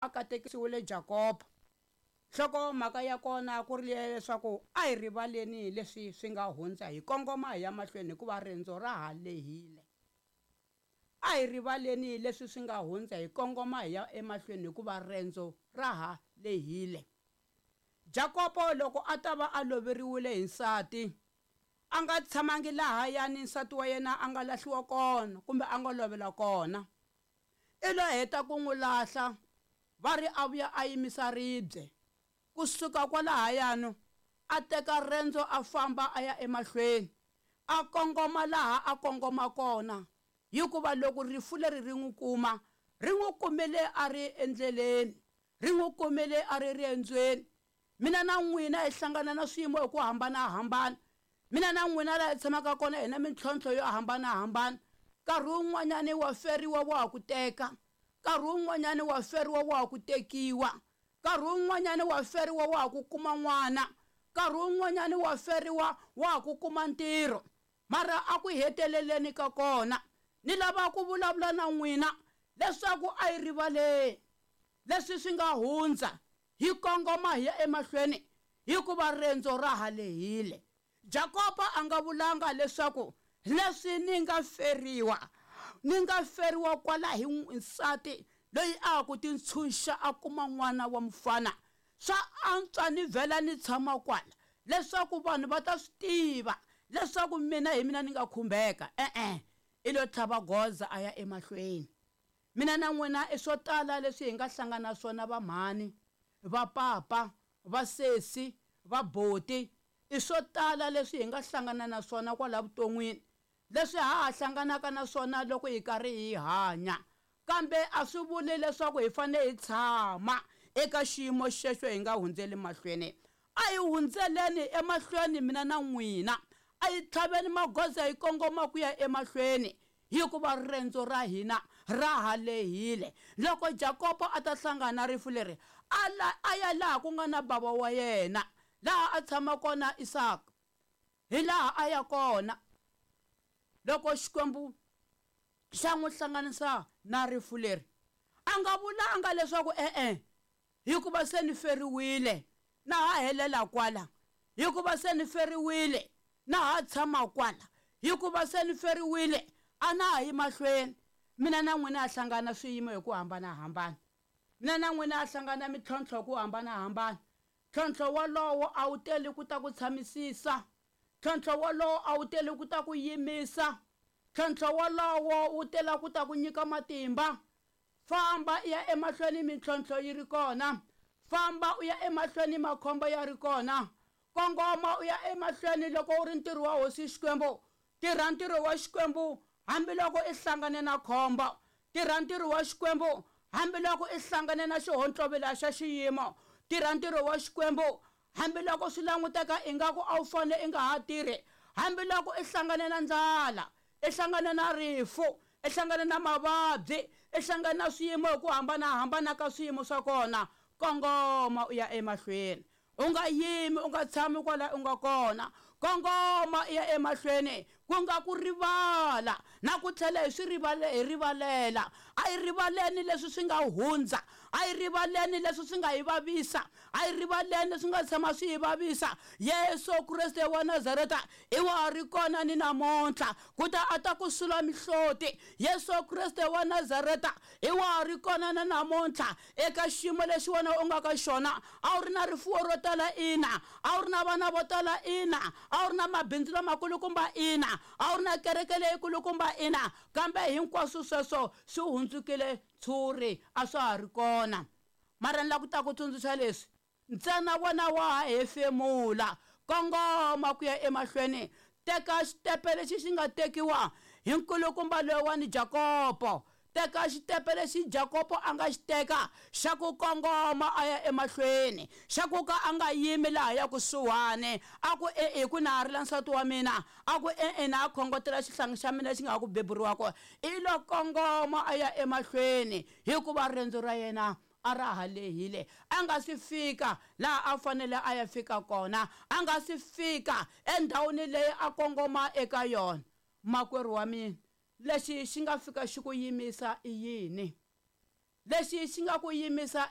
A katekisiwile Jakobo. Nhloko-mhaka ya kona ku ri liya leswaku a hi rivaleni leswi swi nga hundza hi kongoma hi ya mahlweni hikuva rendzo ra ha lehile. A hi rivaleni leswi swi nga hundza hi kongoma hi ya emahlweni hikuva rendzo ra ha lehile. Jakobo loko a ta va a loveriwile hi nsati, a nga tshamangi lahayani nsati wa yena a nga lahliwa kona kumbe a nga lovela kona. I lo heta ku n'wi lahla, va ri a vuya a yimisa ribye. Ku suka kwalahayano, a teka rendzo a famba a ya emahlweni, a kongoma laha a kongoma kona, hikuva loko rifu leri ri n'wi kuma, ri n'wi kumile a ri endleleni, ri n'wi kumile a ri riendzweni. Mina na n'wina hi hlangana na swiyimo hi ku hambana-hambana. Mina na n'wina laha hi tshamaka kona hi na mintlhontlho yo hambana-hambana. Nkarhi wun'wanyana wa feriwa wa ha ku teka, nkarhi wun'wanyana wa feriwa wa ha ku tekiwa, nkarhi wun'wanyana wa feriwa wa ha ku kuma n'wana, nkarhi wun'wanyana wa feriwa wa ha ku kuma ntirho. Mara a ku heteleleni ka kona, ni lava ku vulavula na n'wina leswaku a hi rivaleni leswi swi nga hundza, hi kongoma hi ya emahlweni, hikuva rendzo ra ha lehile. Jakobo a nga vulanga leswaku, Leswi ni nga feriwa, ni nga feriwa kwala hi nsati loyi a ha ku tintshunxa a kuma n'wana wa mufana, swa antswa ni vhela ni tshama kwala leswaku vanhu va ta swi tiva leswaku mina hi mina ni nga khumbeka. E-e, i lo tlhava goza a ya emahlweni. Mina na n'wina i swo tala leswi hi nga hlangana na swona vamhani, vapapa, vasesi, vaboti, i swo tala leswi hi nga hlangana na swona kwala vuton'wini, leswi ha ha hlanganaka na swona loko hi karhi hi hanya. Kambe a swi vuli leswaku hi fanele hi tshama eka xiyimo xexo hi nga hundzeli mahlweni. A hi hundzeleni emahlweni mina na n'wina. A hi tlhaveni magoza hi kongoma ku ya emahlweni. Hikuva rendzo ra hina ra ha lehile. Loko Jakobo a ta hlangana na rifu leri, a a ya laha ku nga na bava wa yena, laha a tshama kona Isaka. Hi laha a ya kona loko Xikwembu xa n'wi hlanganisa na rifu leri. A nga vulanga leswaku, E-e, hikuva se ni feriwile, na ha helela kwala, hikuva se ni feriwile, na ha tshama kwala, hikuva se ni feriwile, a na ha yi mahlweni. Mina na n'wina ha hlangana swiyimo hi ku hambana-hambana. Mina na n'wina ha hlangana mintlhontlho hi ku hambana-hambana. Ntlhontlho wolowo a wu teli ku ta ku tshamisisa. Ntlhontlho wolowo a wu teli ku ta ku yimisa. Ntlhontlho wolowo wu tela ku ta ku nyika matimba. Famba u ya emahlweni mintlhontlho yi ri kona. Famba u ya emahlweni makhombo ya ri kona. Kongoma u ya emahlweni loko u ri ntirho wa Hosi Xikwembu. Tirha ntirho wa Xikwembu hambiloko i hlangane na khombo. Tirha ntirho wa Xikwembu hambiloko i hlangane na xihontlovila xa xiyimo. Tirha ntirho wa Xikwembu hambiloko swi languteka ingaku a wu fanele i nga ha tirhi, hambiloko i hlangane na ndlala, i hlangane na rifu, i hlangane na mavabyi, i hlangane na swiyimo hi ku hambana-hambana ka swiyimo swa kona, kongoma u ya emahlweni. U nga yimi, u nga tshami kwala u nga kona. Kongoma u ya emahlweni, ku nga ku rivala na ku tlhela hi swi rivale, hi rivalela. A hi rivaleni leswi swi nga hundza. A hi rivaleni leswi swi nga hi vavisa. A hi rivaleni leswi nga tshama swi hi vavisa. Yesu Kreste wa Nazareta i wa ha ri kona ni namuntlha ku ta a ta ku sula mihloti. Yesu Kreste wa Nazareta i wa ha ri kona na namuntlha eka xiyimo lexi wena u nga ka xona. A wu ri na rifuwo ro tala ina, a wu ri na vana vo tala ina, a wu ri na mabindzu lamakulukumba ina, a wu ri na kereke leyikulukumba ina, kambe hinkwaswo sweswo swi hundzukile ntshuri, a swa ha ri kona. Mara ni lava ku ta ku tsundzuxa leswi, Ntsena wena wa ha hefemula, kongoma ku ya emahlweni. Teka xitepe lexi xi nga tekiwa hi nkulukumba loyiwani Jakobo. Teka xitepe lexi Jakobo a nga xi teka xa ku kongoma a ya emahlweni, xa ku ka a nga yimi lahaya kusuhani, a ku, E-e, ku na ha rila nsati wa mina. A ku, E-e, na ha khongotela xihlangi xa mina lexi nga ha ku beburiwaka. I lo kongoma a ya emahlweni, hikuva rendzo ra yena a ra ha lehile. A nga si fika laha a fanele a ya fika kona. A nga si fika endhawini leyi a kongoma eka yona. Makwerhu wa mina, lexi xi nga fika xi ku yimisa i yini? Lexi xi nga ku yimisa i.